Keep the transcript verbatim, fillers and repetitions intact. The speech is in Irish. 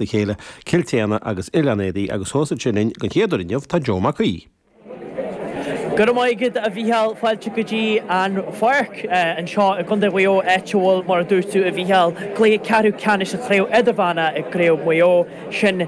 a chéile Cill tSéadhna agus Oileán Éadaí agus thuas ansin linn den chéad uair inniu tá Joe Mac Aoidh. Go raibh maith agat a Mhícheáil fáilte go dtí an pháirc anseo i gContae Mhaigh Eo áit a bhfuil mar a dúirt tú a Mhícheáil cluiche ceathrú ceannais sa chraobh idirmheánach i gcraobh Mhaigh Eo sin